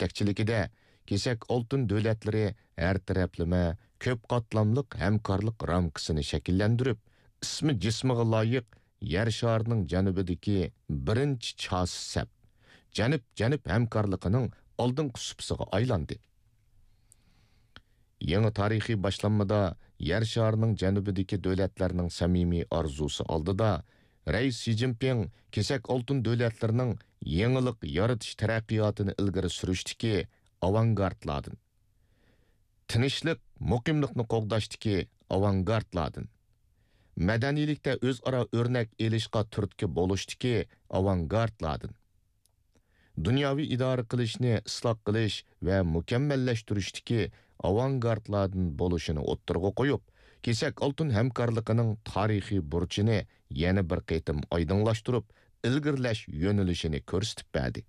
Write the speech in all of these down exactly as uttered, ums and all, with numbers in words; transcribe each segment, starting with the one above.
يېتەكچىلىكىدە كېسەك ئالتۇن دۆلەتلىرى ھەر تەرەپلىمە كۆپ قاتلاملىق ھەمكارلىق رامكىسىنى شەكىللەندۈرۈپ، ئىسمى جىسمىغا لايىق يەر شارىنىڭ جەنۇبىدىكى بىرىنچى چاسا سەپ، جەنۇب-جەنۇب ھەمكارلىقىنىڭ ئالدىنقى سۇپىسىغا ئايلاندى. يېڭى تارىخىي باشلانمىدا يەر شارىنىڭ جەنۇبىدىكى دۆلەتلەرنىڭ سەمىمىي ئارزۇسى ئالدىدا، رەئىس شى جىنپىڭ كېسەك ئالتۇن دۆلەتلىرىنىڭ يېڭىلىق يارىتىش تەرەققىياتىنى ئىلگىرى سۈرۈشتىكى ئاۋانگارتلاردىن، تىنچلىق، مۇقىملىقنى قوغداشتىكى ئاۋانگارتلاردىن، مەدەنىيلىكتە ئۆزئارا ئۆرنەك ئېلىشقا تۈرتكە بولۇشتىكى ئاۋانگارتلاردىن، دۇنياۋى ئىدارە قىلىشنى ئىسلاھ قىلىش ۋە مۇكەممەللەشتۈرۈشتىكى ئاۋانگارتلاردىن بولۇشىنى ئوتتۇرىغا قويۇپ، كېسەك ئالتۇن ھەمكارلىقىنىڭ تارىخىي بۇرچىنى يەنە بىر قېتىم ئايدىڭلاشتۇرۇپ، ئىلگىرىلەش يۆنىلىشىنى كۆرسىتىپ بەردى.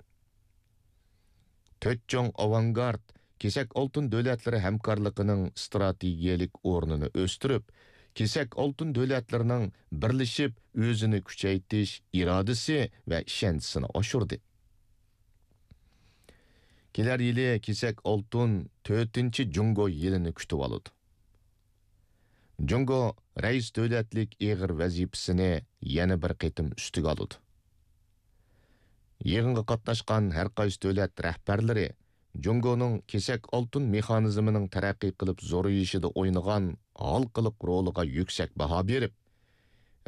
تۆت چوڭ ئاۋانگارت كېسەك ئالتۇن دۆلەتلىرى ھەمكارلىقىنىڭ ئىستراتېگىيەلىك ئورنىنى ئۆستۈرۈپ، كېسەك ئالتۇن دۆلەتلىرىنىڭ بىرلىشىپ ئۆزىنى كۈچەيتىش ئىرادىسى ۋە ئىشەنچىسىنى ئاشۇردى. كېلەر يىلى كېسەك ئالتۇن تۆتىنچى جۇڭگو يىلىنى كۈتۈۋالىدۇ. جۇڭگو رەئىس دۆلەتلىك ئېغىر ۋەزىپىسىنى يەنە بىر قېتىم ئۈستىگە ئالىدۇ. يىغىنغا قاتناشقان ھەر قايسى دۆلەت رەھبەرلىرى جۇڭگونىڭ كېسەك ئالتۇن مېخانىزمىنىڭ تەرەققىي قىلىپ زورىيىشىدا ئوينىغان ھالقىلىق رولىغا يۈكسەك باھا بېرىپ،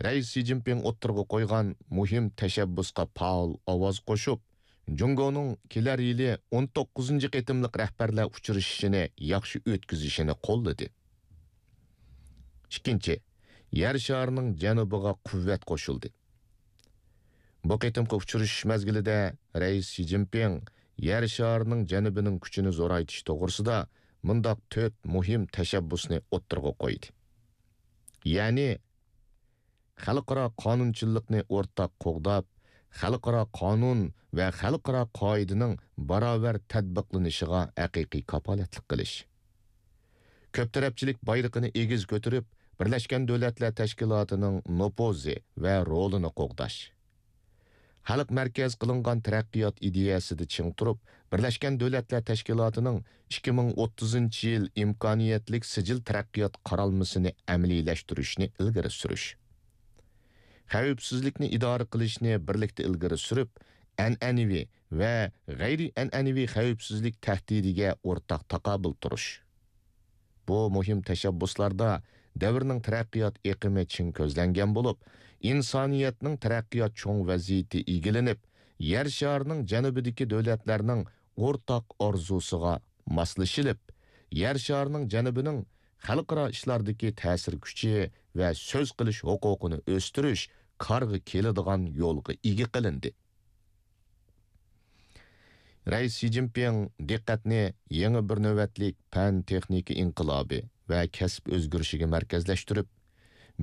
رەئىس شى جىنپىڭ ئوتتۇرىغا قويغان مۇھىم تەشەببۇسقا پائال ئاۋاز قوشۇپ، جۇڭگونىڭ كېلەر يىلى ئون توققۇزىنچى قېتىملىق رەھبەرلەر ئۇچرىشىشىنى ياخشى ئۆتكۈزۈشىنى قوللىدى. ئىككىنچى، يەر شارىنىڭ جەنۇبىغا قۇۋۋەت قوشۇلدى. بۇ قېتىمقى ئۇچرىشىش مەزگىلىدە رەئىس شى جىنپىڭ يەر شارىنىڭ جەنۇبىنىڭ كۈچىنى زورايتىش توغرىسىدا مۇنداق تۆت مۇھىم تەشەببۇسنى ئوتتۇرىغا قويدى. يەنى، خەلقئارا قانۇنچىللىقنى ئورتاق قوغداپ، خەلقئارا قانۇن ۋە خەلقئارا قائىدىنىڭ باراۋەر تەتبىقلىنىشىغا ھەقىقىي كاپالەتلىك قىلىش. كۆپ تەرەپچىلىك بايرىقىنى ئېگىز كۆتۈرۈپ، بىرلەشكەن دۆلەتلەر تەشكىلاتىنىڭ نوپۇزى ۋە رولىنى قوغداش. خەلق مەركەز قىلىنغان تەرەققىيات ئىدىيەسىدە چىڭ تۇرۇپ، بىرلەشكەن دۆلەتلەر تەشكىلاتىنىڭ ئىككى مىڭ ئوتتۇزىنچى يىل ئىمكانىيەتلىك سىجىل تەرەققىيات قارالمىسىنى ئەمەلىيلەشتۈرۈشنى ئىلگىرى سۈرۈش. خەۋپسىزلىكنى ئىدارە قىلىشنى بىرلىكتە ئىلگىرى سۈرۈپ، ئەنئەنىۋى ۋە غەيرىي ئەنئەنىۋى خەۋپسىزلىك تەھدىتىگە ئورتاق تاقابىل تۇرۇش. بۇ مۇھىم تەشەببۇسلاردا دەۋرنىڭ تەرەققىيات ئېقىمى چىڭ كۆزلەنگەن بولۇپ، ئىنسانىيەتنىڭ تەرەققىيات چوڭ ۋەزىيىتى ئىگىلىنىپ، يەر شارىنىڭ جەنۇبىدىكى دۆلەتلەرنىڭ ئورتاق ئارزۇسىغا ماسلىشىلىپ، يەر شارىنىڭ جەنۇبىنىڭ خەلقئارا ئىشلاردىكى تەسىر كۈچى ۋە سۆز قىلىش ھوقۇقىنى ئۆستۈرۈش كارغا كېلىدىغان يولغا ئىگە قىلىندى. رەئىس شى جىنپىڭ دىققەتنى يېڭى بىر نۆۋەتلىك پەن-تېخنىكا ئىنقىلابى ۋە كەسىپ ئۆزگىرىشىگە مەركەزلەشتۈرۈپ،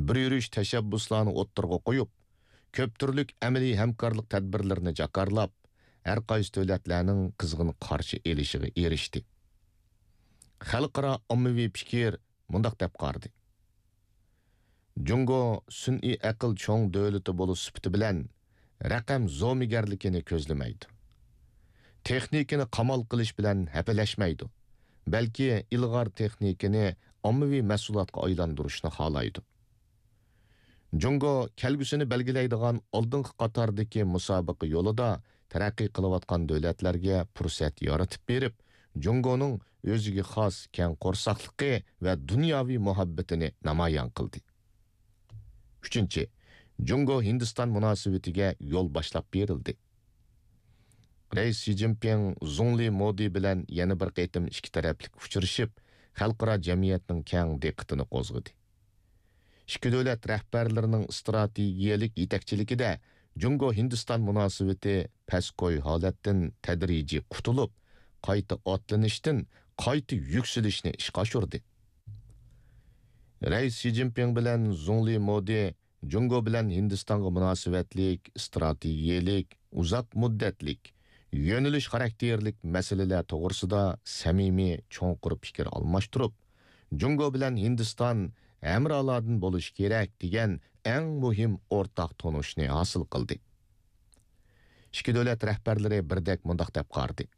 بىر يۈرۈش تەشەببۇسلارنى ئوتتۇرىغا قويۇپ، كۆپ تۈرلۈك ئەمەلىي ھەمكارلىق تەدبىرلىرىنى جاكارلاپ، ھەر قايسى دۆلەتلەرنىڭ قىزغىن قارشى ئېلىشىغا ئېرىشتى. خەلقئارا ئاممىۋى پىكىر مۇنداق دەپ قارىدى: جۇڭگو سۈنئىي ئەقىل چوڭ دۆلىتى بولۇش سۈپىتى بىلەن رەقەم زومىگەرلىكىنى كۆزلىمەيدۇ. تېخنىكىنى قامال قىلىش بىلەن ھەپىلەشمەيدۇ، بەلكى ئىلغار تېخنىكىنى ئاممىۋى مەھسۇلاتقا ئايلاندۇرۇشنى خالايدۇ. جۇڭگو كەلگۈسىنى بەلگىلەيدىغان ئالدىنقى قاتاردىكى مۇسابىقە يولىدا تەرەققىي قىلىۋاتقان دۆلەتلەرگە پۇرسەت يارىتىپ بېرىپ، جۇڭگونىڭ ئۆزىگە خاس كەڭ قورساقلىقى ۋە دۇنياۋى مۇھەببىتىنى نامايان قىلدى. ئۈچىنچى، جۇڭگو ھىندىستان مۇناسىۋىتىگە يول باشلاپ بېرىلدى. رەئىس شى جىنپىڭ زۇڭلى مودى بىلەن يەنە بىر قېتىم ئىككى تەرەپلىك ئۇچرىشىپ، خەلقئارا جەمئىيەتنىڭ كەڭ دىققىتىنى قوزغىدى. ئىككى دۆلەت رەھبەرلىرىنىڭ ئىستراتېگىيەلىك يېتەكچىلىكىدە جۇڭگو ھىندىستان مۇناسىۋىتى پەسكوي ھالەتتىن تەدرىجىي قۇتۇلۇپ، قايتا ئاتلىنىشتىن قايتا يۈكسىلىشنى ئىشقا ئاشۇردى. رەئىس شى جىنپىڭ بىلەن زۇڭلى مودى جۇڭگو بىلەن ھىندىستانغا مۇناسىۋەتلىك ئىستراتېگىيەلىك، ئۇزاق مۇددەتلىك، يۆنىلىش خاراكتېرلىك مەسىلىلەر توغرىسىدا سەمىمىي، چوڭقۇر پىكىر ئالماشتۇرۇپ، جۇڭگو بىلەن ھىندىستان ھەمرالاردىن بولۇشى كېرەك دېگەن ئەڭ مۇھىم ئورتاق تونۇشنى ھاسىل قىلدى. ئىككى دۆلەت رەھبەرلىرى بىردەك مۇنداق دەپ قارىدى: